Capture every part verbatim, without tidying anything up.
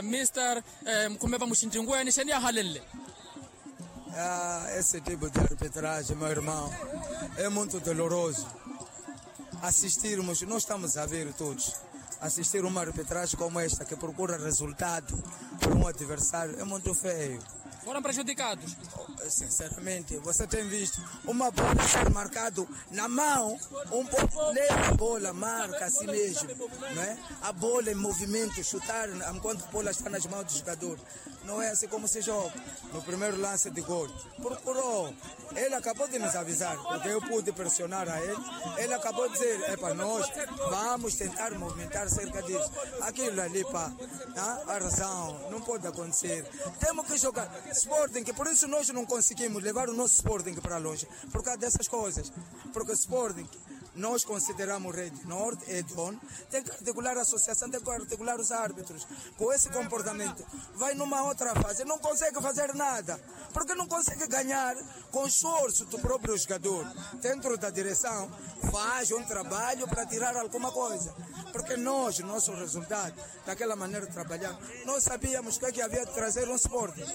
Mister, mukhume va muxintinkuweni xeni yahalenle? Esse tipo de arbitragem, meu irmão, é muito doloroso. Assistirmos, nós estamos a ver todos, assistir uma arbitragem como esta que procura resultado para um adversário é muito feio. Foram prejudicados. Sinceramente, você tem visto uma bola ser marcado na mão, um pouco leva a bola, marca assim mesmo, não é? A bola em movimento, chutar enquanto a bola está nas mãos do jogador. Não é assim como se joga. No primeiro lance de gol, procurou. Ele acabou de nos avisar, porque eu pude pressionar a ele. Ele acabou de dizer, é para nós, vamos tentar movimentar cerca disso. Aquilo ali, pá, a razão, não pode acontecer. Temos que jogar. Sporting, que por isso nós não conseguimos levar o nosso Sporting para longe, por causa dessas coisas. Porque Sporting, nós consideramos Rede Norte, é dono, tem que articular a associação, tem que articular os árbitros. Com esse comportamento, vai numa outra fase, não consegue fazer nada, porque não consegue ganhar com esforço do próprio jogador. Dentro da direção, faz um trabalho para tirar alguma coisa, porque nós, nosso resultado, daquela maneira trabalhar, nós sabíamos o que é que havia de trazer um Sporting.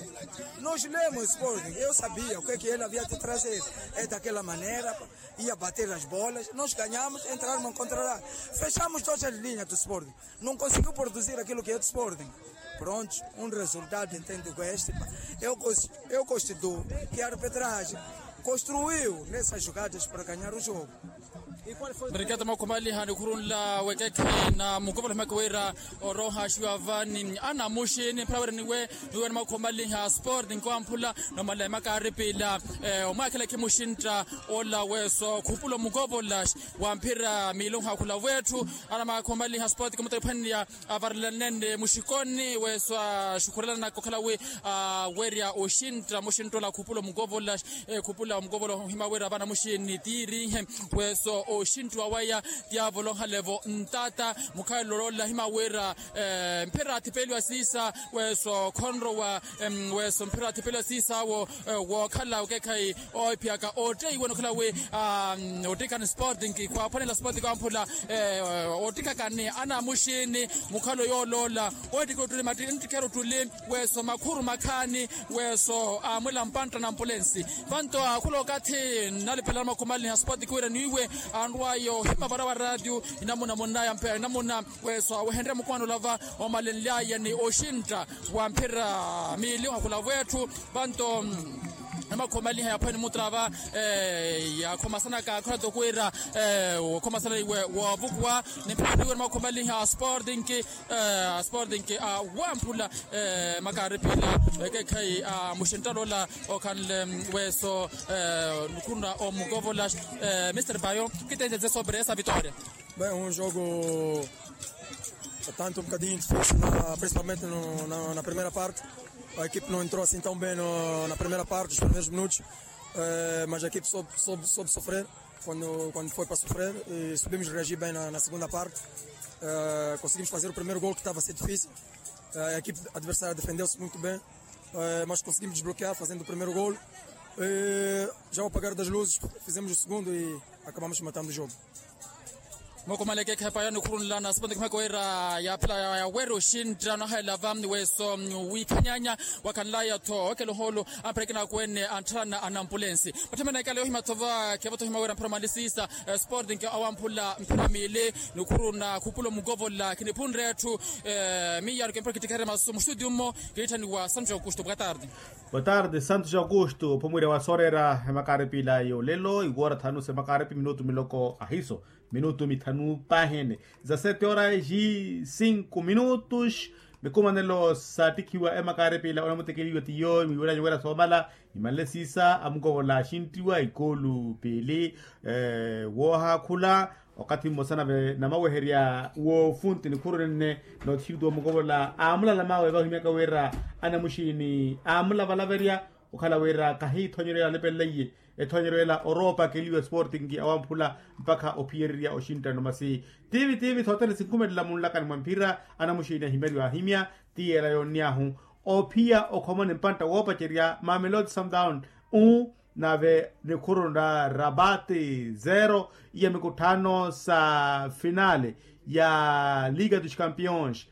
Nós lemos Sporting, eu sabia o que é que ele havia de trazer. É daquela maneira, ia bater as bolas, nós ganhamos, entraram em contra-ataque. Fechamos todas as linhas do Sporting. Não conseguiu produzir aquilo que é do Sporting. Pronto, um resultado entendo que este. Eu, cons- eu constituo que a arbitragem construiu nessas jogadas para ganhar o jogo. Nriketa makhumaliha nikhurunla wekekhe na mukovola himaka wira oroha xiwa vani anamuxini mphawereniwe. Niwe ni makhumaliha Sporting kwamphula nomala emakaripila omwakhela khimuxintta ola weso khupula omukovola wa mphira miiluha khula wetthu. Ana makhumaliha Sporting mutariphwaniya avarelanene muxikoni weso axukhurelana kokhala wi awerya oxintta muxintta ola khupula omukovola. Khupula omukovola ohima wira vana muxini tiirihe weso oxintta waya. Tiavolo ohalevo ntata mukhalelo ola hima wira mphira athipeliwa siisa weso khonrowa. Weso mphira athipeliwa siisaawo wookhala okekhayi oohiphiyaka otteiwe nokhala wi ottikani Sporting khwaphwanela Sporting kwamphula. Ottikakani anamuxini mukhalo yooloola. Ohittike ottuli matti nttikera ottuli weso makhuru makhaani weso amwela mpantta na ampulensi. Vanto akhula okathi nnalipelana makhumaliha Sporting wira niiwe anrwayo hima vara wa ratio inamuna munnaya mpe inamuna weso awehenrye mukwano olava omalenlyaya ni oxintta wa mphira miili ohakhula wetthu. Vanto namakhomaliha yaphwene mutrava yakhomasanaka khona tokwira okhomasana iwe wovukuwa ni mphira niwe namakhomaliha Sporting. Sporting awamphula makaripila ekekhayi a muxinttala ola okhanle weso nukhuna omukovola. Mister Bayo, kitenje zesobere esa vitória. Bem, um jogo tanto um bocadinho difícil, na, principalmente no, na, na primeira parte. A equipe não entrou assim tão bem no, na primeira parte, os primeiros minutos. Eh, mas a equipe soube, soube, soube sofrer quando, quando foi para sofrer e soubemos reagir bem na, na segunda parte. Eh, conseguimos fazer o primeiro gol que estava a ser difícil. Eh, a equipe adversária defendeu-se muito bem, eh, mas conseguimos desbloquear fazendo o primeiro gol. Eh, já ao apagar das luzes, fizemos o segundo e acabamos matando o jogo. Mwakomaleke khepa yanikhurunlana sipanto khimaka wira yaphela yawere oxintta nahaelava weso wikhanyanya wakhanlaya-tho okela oholo. Amperekina akwene antthalana anampulensi matthemana ekala yohima-tho va khepa-tho hima wira mphira malisisa. Sporting awamphula mphira miili nikhuruna khupula omukovola khiniphunre etthu. Miyaru kempira kittikherya masu muxitudio mmo. Kiitthaniwa santos augusto boa tarde. Boa tarde santos augusto ophumwirya wa sooreera emakaripila yolelo iwoora thanu sa emakaripila minutu miloko ahiso minutu mithanu pahene. Za sete horas e cinco minutos. Mikumanelo saattikhiwa emakaripila onamutekeliwa tiyo miwiranya wira soomala imanle siisa amukovola axinttiwa ikoolu piili. Woohaakhula okathi mmosa nave namaweherya woofunti nikhuru nenne nootixituwa mukovola aamulala mawe vahimyaka wira anamuxiini aamulavalavaerya. Okhala wira kahiithonyeryo ela alipeleiye ethonyeryo ela oroopakeliwa sporting awamphula mpakha ophiyererya oxinttano masi tiivi tiivi thothene sinkhumelela munlakani mwa mphira. Anamuxiini ahimyariwa ahimya ti ela yoonnyahu ophiya okhomoni mpantta woopacerya mamelodi sundown u nave nikhuru na rabate zero iya mikutthano sa finale ya liga dos campeões.